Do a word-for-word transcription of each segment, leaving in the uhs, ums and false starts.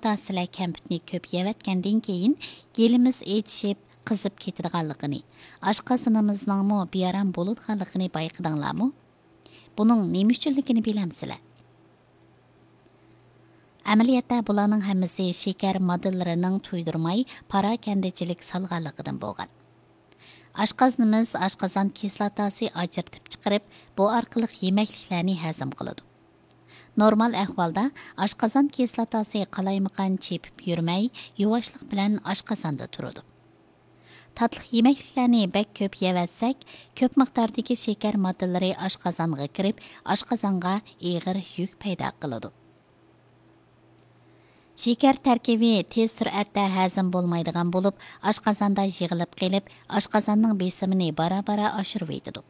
تاسىلە كەمپۈتنى كۆپ يەۋەتكەندىن كېيىن، گېلىمىز ئېچىشىپ، قىزىپ كېتىدىغانلىقىنى، ئاشقازىنىمىزنىڭمۇ بىئارام بولىدىغانلىقىنى بايقىدىڭلارمۇ؟ بۇنىڭ نېمە ئۈچۈنلۈكىنى بىلەمسىلەر؟ ئەمەلىيەتتە بۇلارنىڭ ھەممىسى شېكەر ماددىلىرىنىڭ تۇيدۇرماي پاراكەندىچىلىك سالغانلىقىدىن بولغان. ئاشقازىنىمىز ئاشقازان كىسلاتاسى ئاجرىتىپ چىقىرىپ، بۇ ئارقىلىق يېمەكلىكلەرنى ھەزىم قىلىدۇ. نورمال ئەھۋالدا ئاشقازان كىسلاتاسى قالايمىقان چېپىپ يۈرمەي، يۇۋاشلىق بىلەن ئاشقازاندا تۇرىدۇ. تاتلىق يېمەكلىكلەرنى بەك كۆپ يەۋەتسەك، كۆپ مىقداردىكى شېكەر ماددىلىرى ئاشقازانغا كىرىپ، ئاشقازانغا ئېغىر يۈك پەيدا قىلىدۇ. شېكەر تەركىبى تېز سۈرئەتتە ھەزىم بولمايدىغان بولۇپ، ئاشقازاندا يىغىلىپ قېلىپ، ئاشقازاننىڭ بېسىمىنى بارا-بارا ئاشۇرۇۋېتىدۇ.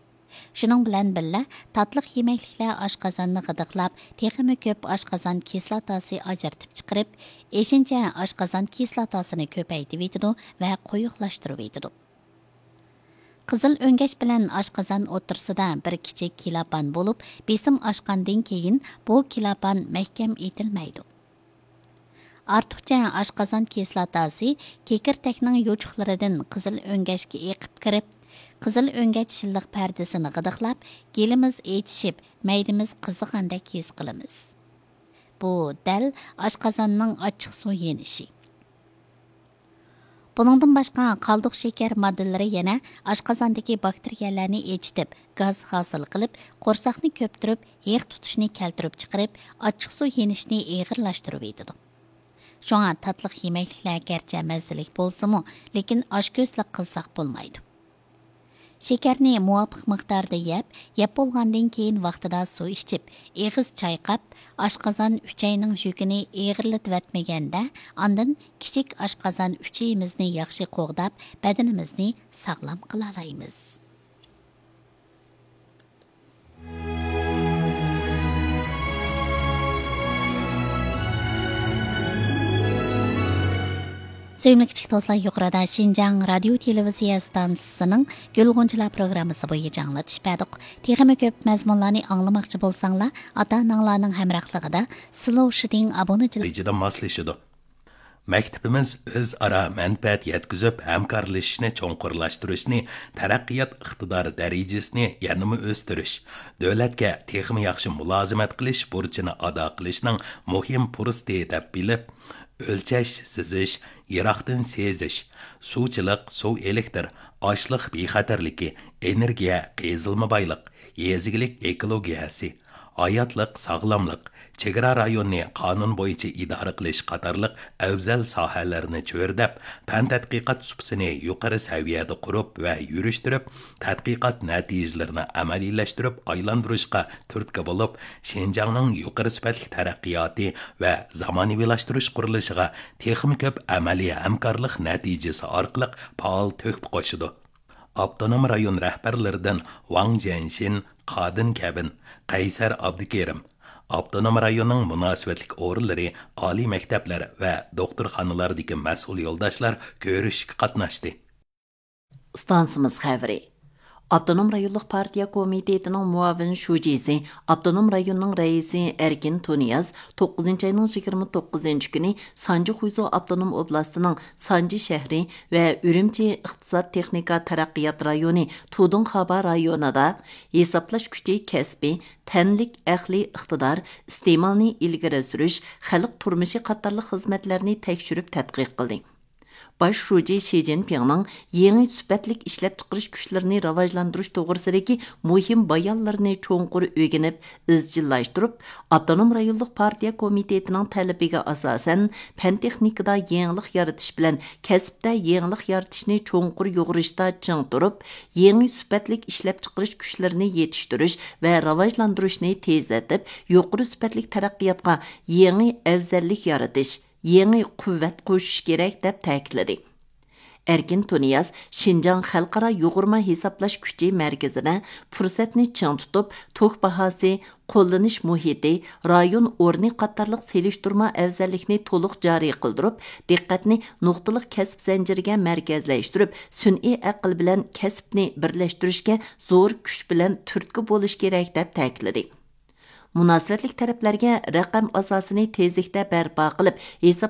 شۇنىڭ بىلەن بىللە، تاتلىق يېمەكلىكلەر ئاشقازاننى غىدىقلاپ، تېخىمۇ كۆپ ئاشقازان كىسلاتاسى ئاجرىتىپ چىقىرىپ، ئېشىنچە ئاشقازان كىسلاتاسىنى كۆپەيتىۋېتىدۇ ۋە قويۇقلاشتۇرۇۋېتىدۇ. قىزىل ئۆڭگەچ بىلەن ئاشقازان ئوتتۇرىسىدا بىر كىچىك كىلاپان بولۇپ، بېسىم ئاشقاندىن كېيىن بۇ كىلاپان مەھكەم ئېتىلمەيدۇ. ئارتۇقچە ئاشقازان كىسلاتاسى كېكىرتەكنىڭ يوچۇقلىرىدىن قىزىل ئۆڭگەچكە ئېقىپ كىرىپ، قىزىل ئۆڭگەچ شىللىق پەردىسىنى غىدىقلاپ، گېلىمىز ئېچىشىپ، مەيدىمىز قىزىغاندەك ھېس قىلىمىز. بۇ دەل ئاشقازاننىڭ ئاچچىقسۇ يېنىشى. بۇنىڭدىن باشقا، قالدۇق شېكەر ماددىلىرى يەنە ئاشقازاندىكى باكتېرىيەلەرنى ئېچىتىپ، گاز ھاسىل قىلىپ، قورساقنى كۆپتۈرۈپ، ھېق تۇتۇشنى كەلتۈرۈپ چىقىرىپ، ئاچچىقسۇ يېنىشنى ئېغىرلاشتۇرۇۋېتىدۇ. شۇڭا تاتلىق يېمەكلىكلەر گەرچە مەززىلىك بولسىمۇ، لېكىن ئاچكۆزلۈك قىلساق بولمايدۇ. شېكەرنى مۇۋاپىق مىقداردا يەپ، يەپ بولغاندىن كېيىن ۋاقتىدا سۇ ئىچىپ، ئېغىز چايقاپ، ئاشقازان ئۈچەينىڭ يۈكىنى ئېغىرلىتىۋەتمىگەندە، ئاندىن كىچىك ئاشقازان ئۈچىيىمىزنى ياخشى قوغداپ، بەدىنىمىزنى ساغلام قىلالايمىز. سۆيۈملۈك كىچىك دوستلار، يۇقىرىدا شىنجاڭ رادىيو تېلېۋىزىيە ئىستانسىسىنىڭ گۈل غۇنچىلار پروگراممىسى بويىچە ئاڭلىتىش بەردۇق. تېخىمۇ كۆپ مەزمۇنلارنى ئاڭلىماقچى بولساڭلار، ئاتا-ئاناڭلارنىڭ ھەمراھلىقىدا سلوشىدىڭ ئابۇنىچىلىق. نەتىجىدە ماسلىشىدۇ. مەكتىپىمىز ئۆزئارا مەنپەئەت يەتكۈزۈپ، ھەمكارلىشىشنى چوڭقۇرلاشتۇرۇشنى، تەرەققىيات ئىقتىدارى دەرىجىسىنى يەنىمۇ ئۆستۈرۈش، دۆلەتكە تېخىمۇ ياخشى مۇلازىمەت قىلىش بۇرچىنى ئادا قىلىشنىڭ مۇھىم پۇرسىتى دەپ بىلىپ، ئۆلچەش، سىزىش، يىراقتىن سېزىش، سۇچىلىق، سۇ ئېلېكتر، ئاشلىق بىخەتەرلىكى، ئېنېرگىيە، قېزىلما بايلىق، يېزا ئىگىلىك ئېكولوگىيەسى، ھاياتلىق، ساغلاملىق، چېگرا رايونىنى قانۇن بويىچە ئىدارە قىلىش قاتارلىق ئەۋزەل ساھەلەرنى چۆرىدەپ، پەن تەتقىقات سۇپىسىنى يۇقىرى سەۋىيەدە قۇرۇپ ۋە يۈرۈشتۈرۈپ، تەتقىقات نەتىجىلىرىنى ئەمەلىيلەشتۈرۈپ ئايلاندۇرۇشقا تۈرتكە بولۇپ، شىنجاڭنىڭ يۇقىرى سۈپەتلىك تەرەققىياتى ۋە زامانىۋىلاشتۇرۇش قۇرۇلۇشىغا تېخىمۇ كۆپ ئەمەلىي ھەمكارلىق نەتىجىسى ئارقىلىق پائال تۆھپە قوشىدۇ. ئاپتونوم رايون رەھبەرلىرىدىن ۋاڭ جيەنشىن، قادىن كەبىن، قەيسەر ئابدۇكېرىم، ئاپتونوم رايوننىڭ مۇناسىۋەتلىك ئورۇنلىرى، ئالىي مەكتەپلەر ۋە دوختۇرخانىلاردىكى مەسئۇل يولداشلار كۆرۈشۈشكە قاتناشتى. ئىستانسىمىز خەۋىرى. ئاپتونوم رايونلۇق پارتىيە كومىتېتىنىڭ مۇئاۋىن شۇجىسى، ئاپتونوم رايوننىڭ رەئىسى ئەركىن تۇنىياز توققۇزىنچى ئاينىڭ يىگىرمە توققۇزىنچى كۈنى سانجى خۇيزۇ ئاپتونوم ئوبلاستىنىڭ سانجى شەھىرى ۋە ئۈرۈمچى ئىقتىساد تېخنىكا تەرەققىيات رايونى تۇدۇڭخابا رايونىدا ھېسابلاش كۈچى كەسپى، تەنلىك ئەقلىي ئىقتىدار، ئىستېمالنى ئىلگىرى سۈرۈش، خەلق تۇرمۇشى قاتارلىق خىزمەتلەرنى تەكشۈرۈپ تەتقىق قىلدى. باش شۇجى شى جىنپىڭنىڭ يېڭى سۈپەتلىك ئىشلەپچىقىرىش كۈچلىرىنى راۋاجلاندۇرۇش توغرىسىدىكى مۇھىم بايانلىرىنى چوڭقۇر ئۆگىنىپ، ئىزچىللاشتۇرۇپ، ئاپتونوم رايونلۇق پارتىيە كومىتېتىنىڭ تەلىپىگە ئاساسەن، پەن تېخنىكىدا يېڭىلىق يارىتىش بىلەن كەسىپتە يېڭىلىق يارىتىشنى چوڭقۇر يۇغۇرۇشتا چىڭ تۇرۇپ، يېڭى سۈپەتلىك ئىشلەپچىقىرىش كۈچلىرىنى يېتىشتۈرۈش ۋە راۋاجلاندۇرۇشنى تېزلىتىپ، يۇقىرى سۈپەتلىك تەرەققىياتقا يېڭى ئەۋزەللىك يارىتىش، يېڭى قۇۋۋەت قوشۇش كېرەك، دەپ تەكىتلىدى. ئەركىن تۇنىياز شىنجاڭ خەلقئارا يۇغۇرما ھېسابلاش كۈچى مەركىزىدە پۇرسەتنى چىڭ تۇتۇپ، توك باھاسى، قوللىنىش مۇھىتى، رايون ئورنى قاتارلىق سېلىشتۇرما ئەۋزەللىكنى تولۇق جارى قىلدۇرۇپ، دىققەتنى نۇقتىلىق كەسىپ زەنجىرىگە مەركەزلەشتۈرۈپ، سۈنئىي ئەقىل بىلەن كەسىپنى بىرلەشتۈرۈشكە زور كۈچ بىلەن تۈرتكە بولۇش كېرەك، دەپ تەكىتلىدى. مۇناسىۋەتلىك تەرەپلەرگە رەقەم ئاساسىنى تېزلىكتە بەرپا قىلىپ، ھېسابلاش